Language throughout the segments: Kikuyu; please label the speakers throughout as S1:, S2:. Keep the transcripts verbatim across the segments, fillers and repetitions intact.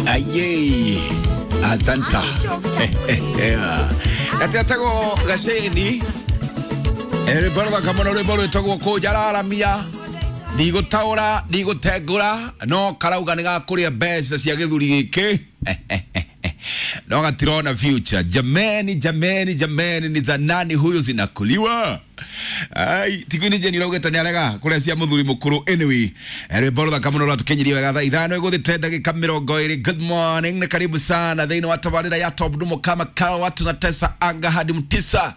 S1: Aye, asanta. Gatetagwo gaceni rwĩmbo rũthaka mũno, rwĩmbo rwĩtagwo kũnjararamia. Ndigũtaũra, ndigũtengũra, no karauga nĩ gakũrĩa mbeca cia gĩthuri gĩkĩ no gatirona future. Jameni, jameni, jameni, ni za nani huyu zinakuliwa? Ai, tikuini jeni raugĩte nĩ arega kũrĩa cia mũthuri mũkũrũ. Anyway, rwĩmbo rũthaka mũno rwatũkinyirie wega thaa ithano ĩgũthĩte ndagĩka mĩrongo ĩrĩ. Good morning na karibu sana thĩinĩ wa tabarĩra ya Top Dumo kama kawa, tunatesa anga hadi mtisa.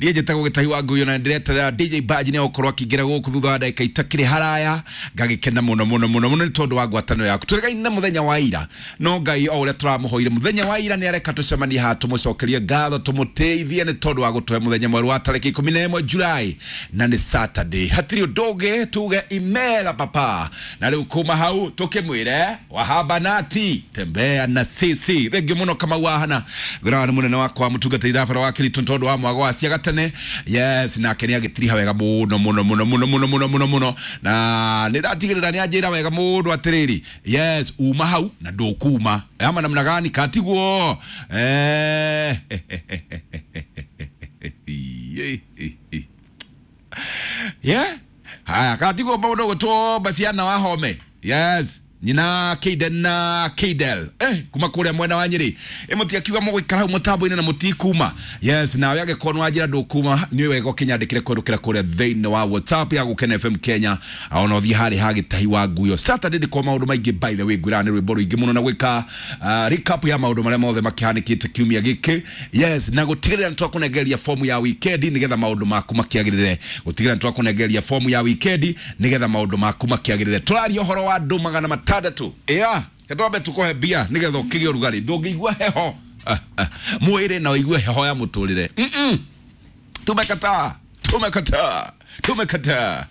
S1: Niĩ njĩtagwo Gĩtahi wa Nguyo na ndĩreterera D J Baji nĩ egũkorwo akĩingĩra gũkũ thutha wa ndagĩka itakĩrĩ haraya. Ngagĩkena mũno mũno mũno mũno nĩ tondũ wa ngwatanĩro yaku. Tũrĩgaine na mũthenya wa ira, no Ngai o ũrĩa tũramũhoire mũthenya wa ira nĩ areka tũcemanie haha tũmũcokerie ngatho, tũmũtĩithie nĩ tondũ wa gũtũhe mũthenya mwerũ wa tarĩki ikũmi na ĩmwe Julai, na nĩ Saturday. Hatirĩ ũndũ ũngĩ tuge imera papa, na rĩu kuma hau tũkĩmwĩre wahabanati tembea na sisi. Thengiũ mũno Kamau wahana wĩra nĩ mũnene wakwa mũtungatĩri rabara wa Kiriton tondũ wa mwago wa ciaga tene. Yes, nake nĩ agĩtiriha wega mũno mũno mũno mũno mũno mũno mũno mũno, na nĩ ndatigĩrĩra nĩ anjĩra wega mũndũ atĩrĩrĩ, yes, uma hau na ndũkuma ama namna gani katiguo. Eh, yeah, haya katiguo maũndũ gũtwo baciana wahome. Yes, nyina Keiden na Keidel eh kuma kuria mwena wa Nyeri imuti akiuga mũgũikara hau mũtambo-inĩ na mũtikuma. Yes, nawe angĩkorwo nĩ wanjĩra ndũkuma nĩ wega ũkĩnyandĩkĩre kũhĩtũkĩra kũrĩa thĩinĩ wa WhatsApp ya Gũkena F M Kenya, ona ũthiĩ harĩ ha Gĩtahi wa Nguyo. Saturday ndĩ kwa maũndũ maingĩ, by the way, ngwĩra nĩ rwĩmbo rũingĩ mũno na gwĩka uh, recap ya maũndũ marĩa mothe makĩhanĩkĩte kiumia gĩkĩ. Yes, na gũtigĩrĩra nĩ twakũnengereria fomu ya wikendi nĩgetha maũndũ maku makĩagĩrĩre. Gũtigĩrĩra nĩ twakũnengereria fomu ya wikendi nĩgetha maũndũ maku makĩagĩrĩre. Tũraria ũhoro wa andũ magana matandatũ. Ĩa ketwambe tukũhe mbia nĩgetha ũkĩgĩe ũrugarĩ, ndũngĩigua heho Ah, ah, mwĩrĩ na ũigue heho ya mũtũrĩre. Mm-mm. Tumekataa, tumekataa, tumekataa.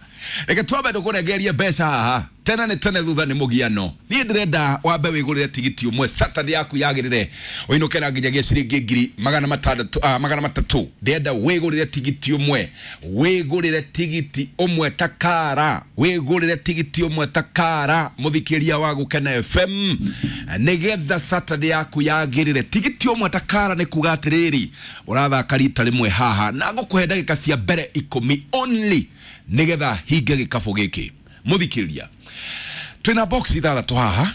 S1: Reke twambe tũkũrengerie mbeca haha tena nĩ tene thutha nĩ mũgiano. Niĩ ndĩrenda wambe wĩgũrĩre tigiti ũmwe, Saturday yaku yagĩrĩre ũinũke na nginyagia ciringi ngiri magana matandatũ, ah, magana matatũ. Ndĩrenda wĩgũrĩre tigiti ũmwe, wĩgũrĩre tigiti ũmwe takara, wĩgũrĩre tigiti ũmwe takara, mũthikĩria wa Gũkena F M, nĩgetha Saturday yaku yagĩrĩre. Tigiti ũmwe takara nĩ kuga atĩrĩrĩ, ũrathaka rita rĩmwe haha na ngũkũhe ndagĩka cia mbere ikũmi only nĩgetha hinge gĩkabũ gĩkĩ. Mũthikĩria, twĩna box ithathatũ haha,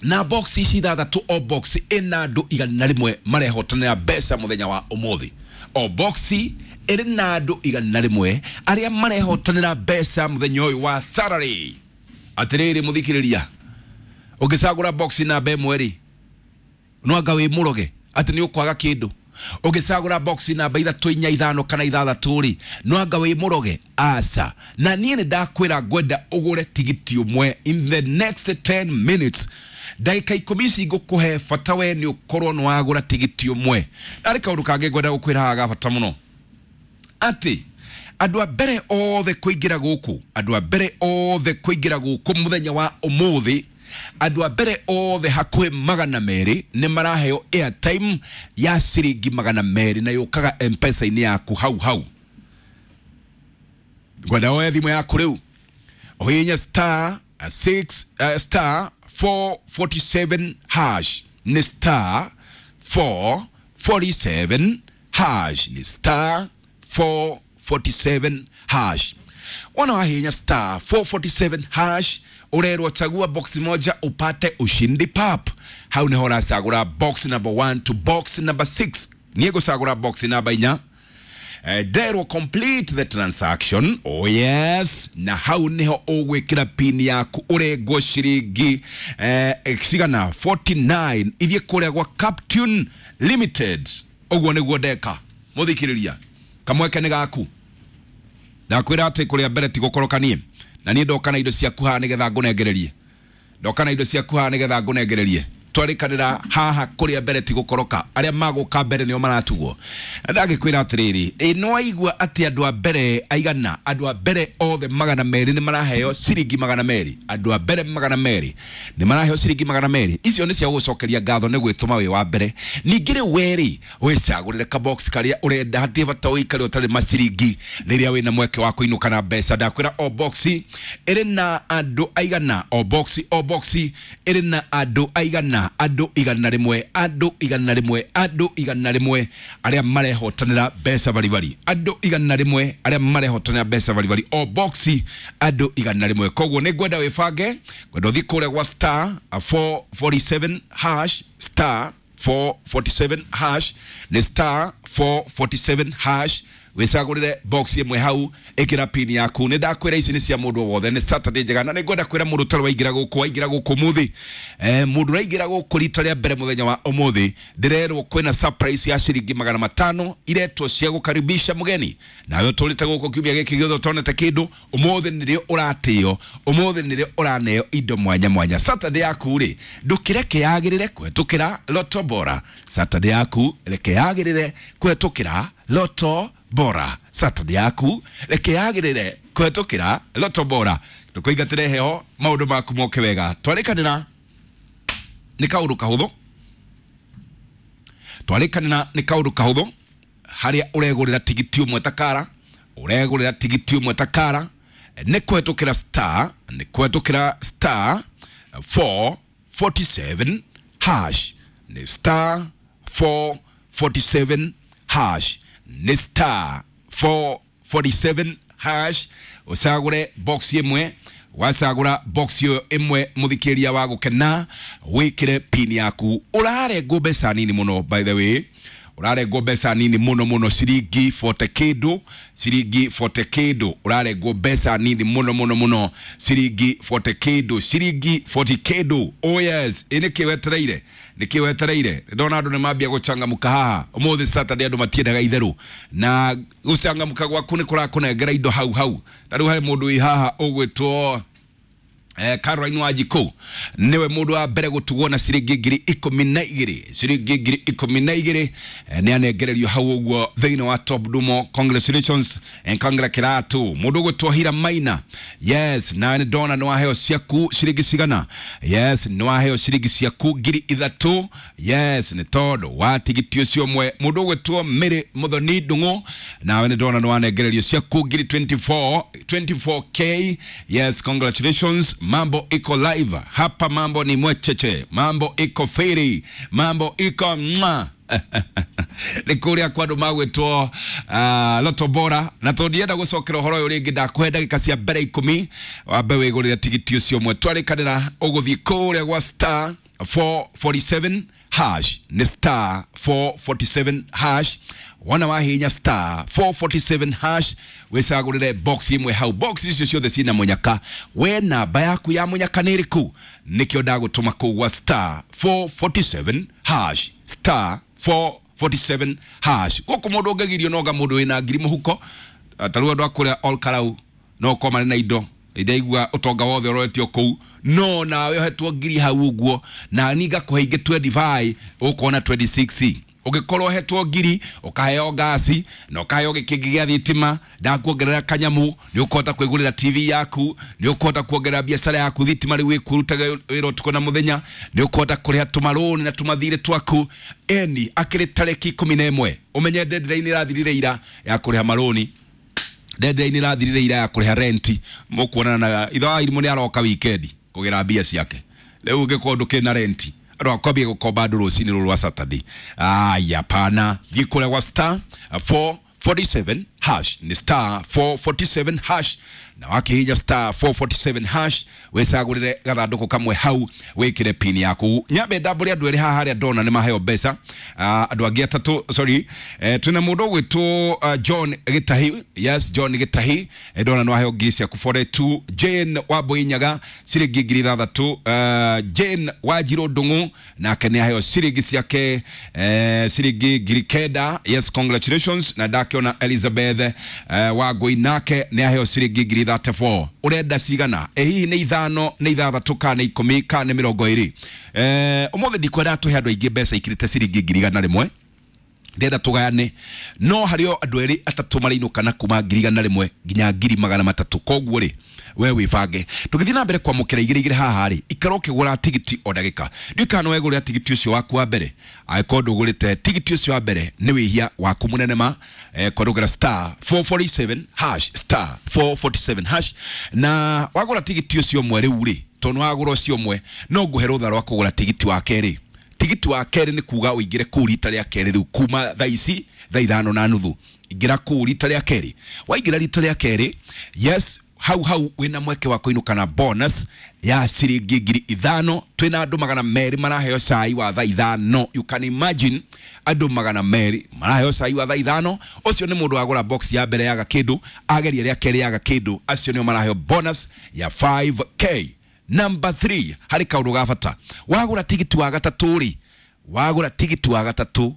S1: na box ici ithathatũ, o box ĩna andũ igana rĩmwe marehotanĩra mbeca mũthenya wa ũmũthĩ. O box ĩrĩ na andũ igana rĩmwe arĩa marehotanĩra mbeca mũthenya ũyũ wa Saturday. Atĩrĩrĩ mũthikĩrĩria, ũngĩcagũra box namba ĩmwe rĩ, no anga wĩ mũroge atĩ nĩ ũkwaga kĩndũ. Ũngĩcagũra box namba ithatũ, inya, ithano kana ithathatũ rĩ, no anga wĩ mũroge? Aca. Na niĩ nĩ ndakwĩra ngwenda ũgũre tigiti ũmwe in the next ten minutes. Ndagĩka ikũmi ici ngũkũhe, bata we nĩ ũkorwo nĩ wagũra tigiti ũmwe. Narĩ kaũndũ kangĩ ngwenda gũkwĩra haha ga bata mũno, atĩ andũ a mbere othe kũingĩra gũkũ, andũ a mbere othe kũingĩra gũkũ mũthenya wa ũmũthĩ, andũ a mbere othe hakuhĩ magana merĩ nĩ maraheo airtime ya ciringi magana merĩ, na yũkaga M-Pesa-inĩ yaku hau hau. Ngwenda woe thimũ yaku rĩu ũhihinye star six uh, star four forty-seven hash. Nĩ star four forty-seven hash, nĩ star four forty-seven hash. Wana wahinya star four forty-seven hash, urerwo chagua box moja upate ushindi pap. Hau niho ũracagũra box number one to box number six. Niĩ ngũcagũra box namba inya. Eh, nderwo complete the transaction. Oh yes, na hau niho ũgwĩkĩra pin yaku, ũrengwo ciringi eh, cigana forty-nine ithiĩ kũrĩa gwa Captune Limited. Ũguo nĩguo ndeka. Mũthikĩrĩria, kamweke nĩ gaku. Ndakwĩra atĩ kũrĩa mbere ti gũkoroka niĩ, na niĩ ndoka na indo ciaku haha nĩgetha ngũnengererie, ndoka na indo ciaku haha nĩgetha ngũnengererie. Twarĩkanĩra haha kũrĩa mbere ti gũkoroka, arĩa magũka mbere nĩo maratugwo. Na ndagĩkwĩra atĩrĩrĩ, ĩ nĩwaigua atĩ andũ a mbere aigana, andũ a mbere othe magana merĩ nĩ maraheo ciringi magana merĩ? Andũ a mbere magana merĩ nĩ maraheo ciringi magana merĩ. Icio nĩ cia gũgũcokeria ngatho nĩ gwĩtũma wĩ wa mbere. Ningĩ rĩu werĩ wĩcagũrĩre kabox karĩa ũrenda, hatirĩ bata ũikare ũtarĩ maciringi rĩrĩa wĩna mweke wa kũinũka na mbeca. Ndakwĩra o box ĩrĩ na andũ aigana, o box o box ĩrĩ na andũ aigana. Igana, andũ igana rĩmwe, andũ igana rĩmwe, andũ igana rĩmwe arĩa marehotanĩra mbeca baribari, andũ igana rĩmwe arĩa marehotanĩra mbeca baribari, o boxi andũ igana rĩmwe. Koguo nĩ ngwenda wĩbange, ngwenda ũthiĩ kũrĩa gwa star four forty-seven hash, star four forty-seven hash, nĩ star four forty-seven hash, wicagurire box imwe hau, ikira pin yaku. Ni ndakwira ici ni cia mundu wothe, ni Saturday njega, na ni ngwenda kwira mundu utari waingira guku, waingira guku muthi, eh mundu uraingira guku rita ria mbere muthenya wa umuthi, ndirerwo kwina surprise ya ciringi magana matano iretwo cia gukaribisha mugeni. Nawe uturite guku kiumia giki giothe utonete kindu, umuthi nirio uratio, umuthi nirio uraneo indo mwanya mwanya. Saturday yaku ri ndukireke yagirire kwetukira Lotto Bora. Saturday yaku reke yagirire kwetukira Lotto Bora. Saturday yaku reke yagirire kwetukira Lotto Bora. Tukuingatire heho maundu maku moke wega. Twarikanira ni kaundu kahuthu, twarikanira ni kaundu kahuthu haria uregurira tigiti umwe takara, uregurira tigiti umwe takara ni kwetukira star, ni kwetukira star four forty-seven hash, ni star four forty-seven hash, ni star four forty-seven hash. Ucagure box imwe, wacagura box iyo imwe muthikiria wa gukena, wikire pin yaku. Urarengwo mbeca nini muno, by the way, urarengwo mbeca nini muno muno, ciringi forty kindu, ciringi forty kindu, urarengwo mbeca nini muno muno muno, ciringi forty kindu, ciringi forty kindu. Oh yes, ini ki wetereire, niki wetereire. Ndona andu ni mambia guchangamuka haha umuthi Saturday, andu matiendaga itheru, na gucangamuka gwaku ni kurakunengera indo hau hau. Ta riu hari mundu wi haha ugwitwo Eh, Caroline Wanjikũ, niwe mundu wa mbere gutugwo na ciringi ngiri ikumi na igiri, ciringi ngiri ikumi na igiri, eh, ni anengererio hau uguo thiini wa Top Dumo. Congratulations and congratulations. Mundu ugwitwo Hira Maina, yes, na ni ndona ni waheo ciaku ciringi cigana, yes, ni waheo ciringi ciaku ngiri ithatu, yes, ni tondu wa tigiti ucio mwe. Mundu ugwitwo Mary Muthoni Ndung'u, nawe ni ndona ni wanengererio ciaku ngiri twenty-four, twenty-four K, yes, congratulations. Mambo iko live hapa, mambo ni mwecheche, mambo iko feri, mambo iko mwa. Ni kuria kwa andu magwitwo uh, Lotto Bora. Na tondienda gucokera uhoro uyu ringi, ndakũhe ndagika cia mbere ikumi wambe wigurire tigiti ucio ũmwe. Twarikanira uguthii kuria gwa star four forty-seven hash, ni star four forty-seven hash. Wana wahinya star four forty-seven hash, wicagurire box imwe hau. Box icio ciothe cina munyaka, we namba yaku ya munyaka ni iriku? Nikio ndagutuma kuu gwa star four forty-seven hash, star four forty-seven hash. Guku mundu ungigirio noga mundu wina ngiri muhuko, ta riu andu a kuria Ol Kalou no korwo mari na indo indaigua utonga wothe uroretio kuu, no nawe uhetwo ngiri hau uguo, na ni ngakuhe ingi twenty-five ukona twenty-six. Ugikorwo uhetwo ngiri ukaheo ngasi na ukaheo gikingi gia thitima, ndakuongerera kanyamu, ni ukuhota kwigurira T V yaku, ni ukuhota kuongerera biacara yaku thitima riu ikurutaga wira utuku na muthenya, ni ukuhota kuriha tumaruni na tumathire twaku. Eni akiri tariki ikumi na imwe, umenye deadline irathirire ira ya kuriha maruni, deadline irathirire ira ya kuriha renti. Mukuonana na ithe wa Irimũ ni aroka weekend kugira mbia ciake, riu ungikorwo ndukina renti andũ akwambia gũkomba andũ rũcinĩ rũrũ rwa Saturday. Aya, pana thiĩ kũrĩa gwa star four forty-seven hash, ni star four forty-seven hash, na wakihinya star four forty-seven hash wicagurire gathandũkũ kamwe hau, wikire pin yaku. Nyambe ndambũre andũ erĩ haha arĩa ndona nĩ maheo mbeca, andũ angĩ atatũ, sorry, eh, twĩna mũndũ ũgwĩtwo uh, John Gĩtahi, yes, John Gĩtahi, eh, ndona nĩ waheo ngiri ciaku forty-two. Jane Wambui Nyaga ciringi ngiri ithathatũ. uh, Jane Wanjirũ Ndung'u nake nĩ aheo ciringi ciake, eh, ciringi ngiri kenda, yes, congratulations. Na ndakiona Elizabeth uh, Wangui nake nĩ aheo ciringi ngiri thirty-four. Urenda cigana? E hihi nĩ ithano, nĩ ithathatũ, kana nĩ ikũmi, kana nĩ mĩrongo ĩrĩ? Eh, ũmũthĩ ndikwenda tũhe andũ aingĩ mbeca ikirĩte ciringi ngiri igana rĩmwe, ndĩrenda tũgayane, no harĩ o andũ erĩ atatũ marĩinũka na kuma ngiri igana rĩmwe nginya ngiri magana matatũ. Koguo rĩ, we wĩbange. Tũgĩthiĩ na mbere kwamũkĩra igĩrĩ igĩrĩ haha rĩ, ikara ũkĩgũra tigiti o ndagĩka. Ndiũĩ kana nĩ wegũrĩra tigiti ũcio waku wa mbere. Angĩkorwo ndũgũrĩte tigiti ũcio wa mbere, nĩ wĩhia waku mũnene ma, eh, kũrũgĩra star four forty-seven hash, star four forty-seven hash. Na wagũra tigiti ũcio ũmwe rĩu rĩ, Tondu wagura ucio umwe no nguhe rutha rwa kugura tigiti wa keri. Tigiti wa keri ni kuga uingire kuu rita ria keri riu kuma thaa ici thaa ithano na nuthu. Ingira kuu rita ria keri. Waingira rita ria keri, yes, hau hau wina mweke wa kuinuka na bonus ya ciringi ngiri ithano. Twina andu magana meri maraheo cai wa thaa ithano. You can imagine andu magana meri maraheo cai wa thaa ithano. Ucio ni mundu wagura box ya mbere yaga kindu, ageria ria keri yaga kindu, acio nio maraheo bonus ya five K. Number three, hari kaundu ga bata. Wagura tigiti wa gatatu ri, wagura tigiti wa gatatu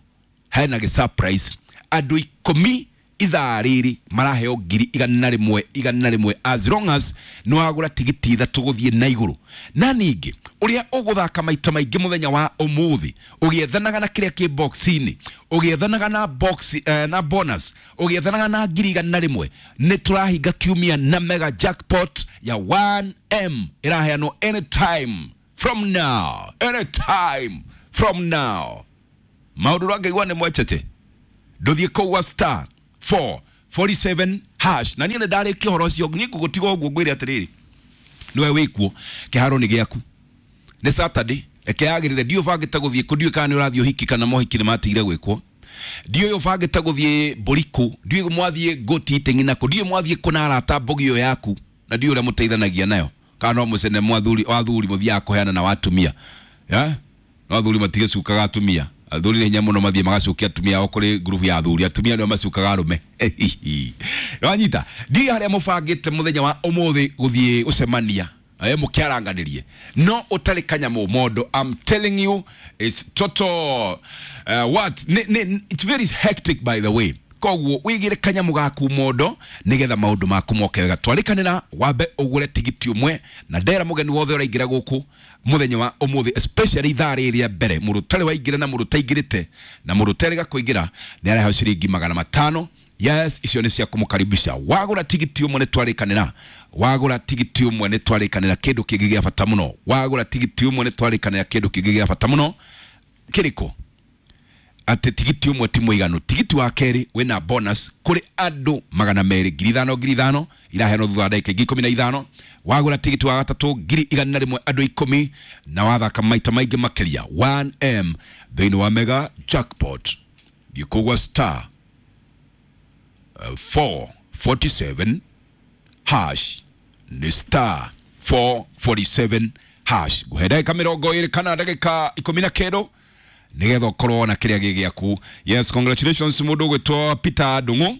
S1: hena gi surprise. Andu ikumi ithaa riri maraheo ngiri igana rimwe igana rimwe as long as no wagura tigiti ithatu guthie na iguru. Na ningi uria uguthaka maita maingi muthenya wa umuthi ugiethanaga na kiria ki box-ini, ugiethanaga na box eh, na bonus, ugiethanaga na ngiri igana rimwe, ni turahinga kiumia na mega jackpot ya one M iraheanwo anytime from now, anytime from now. Maundu rangaigua ni mwechete nduthie kuu star four forty-seven hash. Na niĩ nĩ ndarĩkia ũhoro ũcio, niĩ ngũgũtiga ũguo ngwĩre atĩrĩrĩ, nĩwe wĩkuo kĩharo nĩ gĩaku. Nĩ Saturday, reke yagĩrĩre, ndiũĩ ũbangĩte gũthiĩ kũ, ndiũĩ kana nĩ ũrathiĩ ũhiki kana mohiki nĩ matigire gwĩkwo, ndiũĩ ũbangĩte gũthiĩ mbũrikũ, ndiũĩ mwathiĩ ngũti iteng'i nakũ, ndiũĩ mwathiĩ kũ na arata mbogi ĩyo yaku, na ndiũĩ ũrĩa mũteithanagia nayo, kana no mũcene mwathuri wathuri mũthiaga kũheana na watumia. Yeah? No athuri matigĩcukaga atumia. Athuri nĩ hinya mũno mathiĩ magacukia atumia ao kũrĩ ngurubu ya athuri, atumia nĩo macukaga arũme. Wanyita ndiũĩ harĩa mũbangĩte mũthenya wa ũmũthĩ gũthiĩ gũcemania, eh, mũkĩaranganĩrie, no ũtarĩ kanyamũ mondo. I'm telling you, it's total uh, what ni, ni, it's very hectic by the way. Koguo wigire kanyamũ gaku mondo nigetha maũndũ maku moke wega. Twarikanĩra wambe ũgũre tigiti ũmwe, na ndera mũgeni wothe ũraingĩra gũkũ mũthenya wa ũmũthĩ, especially ithaa rĩrĩ rĩa mbere, mũndũ ũtarĩ waingĩra na mũndũ ũtaingĩrĩte na mũndũ ũterĩga kũingĩra nĩ araheo ciringi magana matano. Yes, icio nĩ cia kũmũkaribisha. Wagũra tigiti ũmwe nĩ twarĩkanĩra, wagũra tigiti ũmwe nĩ twarĩkanĩra kĩndũ kĩngĩ gĩa bata mũno. Wagũra tigiti ũmwe nĩ twarĩkanĩra kĩndũ kĩngĩ gĩa bata mũno. Kĩrĩkũ? Atĩ tigiti ũmwe ti mũiganu. Tigiti wa kerĩ wĩna bonus kũrĩ andũ magana merĩ, ngiri ithano ngiri ithano iraheanwo thutha wa ndagĩka ingĩ ikũmi na ithano. Wagũra tigiti wa gatatũ ngiri igana rĩmwe andũ ikũmi, na wathaka maita maingĩ makĩria one M thĩinĩ wa mega jackpot. Thiĩ kũgwa star uh, four forty-seven hash, ni star four forty-seven hash. Nguhe ndagĩka mĩrongo ĩrĩ kana ndagĩka ikũmi na kenda nigetha ũkorwo na kĩrĩa gĩ gĩaku. Yes, congratulations mũndũ ũgwĩtwo Peter Ndung'u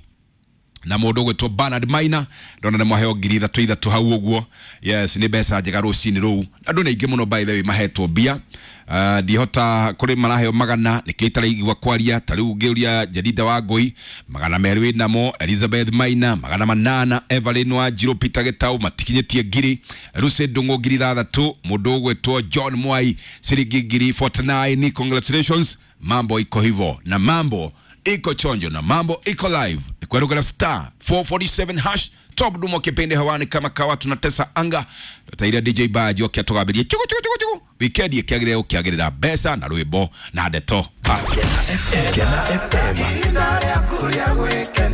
S1: na mũndũ ũgwĩtwo Bernard Maina, ndona nĩ mwaheo ngiri ithatũ ithatũ hau ũguo. Yes, nĩ mbeca njega rũcinĩ rũu. Andũ nĩ aingĩ mũno by the way mahetwo mbia. Uh, ndihota kũrĩ maraheo magana, nĩkĩo itaraigua kwaria. Ta rĩu ngĩũria Jedida wa Ngũi magana merĩ wĩnamo, Elizabeth Maina magana manana, Evelyn Wanjiru, Peter Gitau matikinyĩtie ngiri, Lucy Ndung'u ngiri ithathatũ, mũndũ ũgwĩtwo John Mwai ciringi ngiri forty-nine. Congratulations, mambo iko hivo na mambo iko chonjo na mambo iko live. Kwerugera star four forty-seven hash. Top dumo kipindi hewani kama kawa, tunatesa anga. Tutaira D J Baji okia tugabirie chuku chuku chuku chuku. Wikendi ikiagirira ukiagirira mbeca na rwimbo na ndeto.
S2: Kena F M. Kena F M.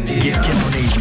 S2: Gĩkeno nĩ ithuĩ.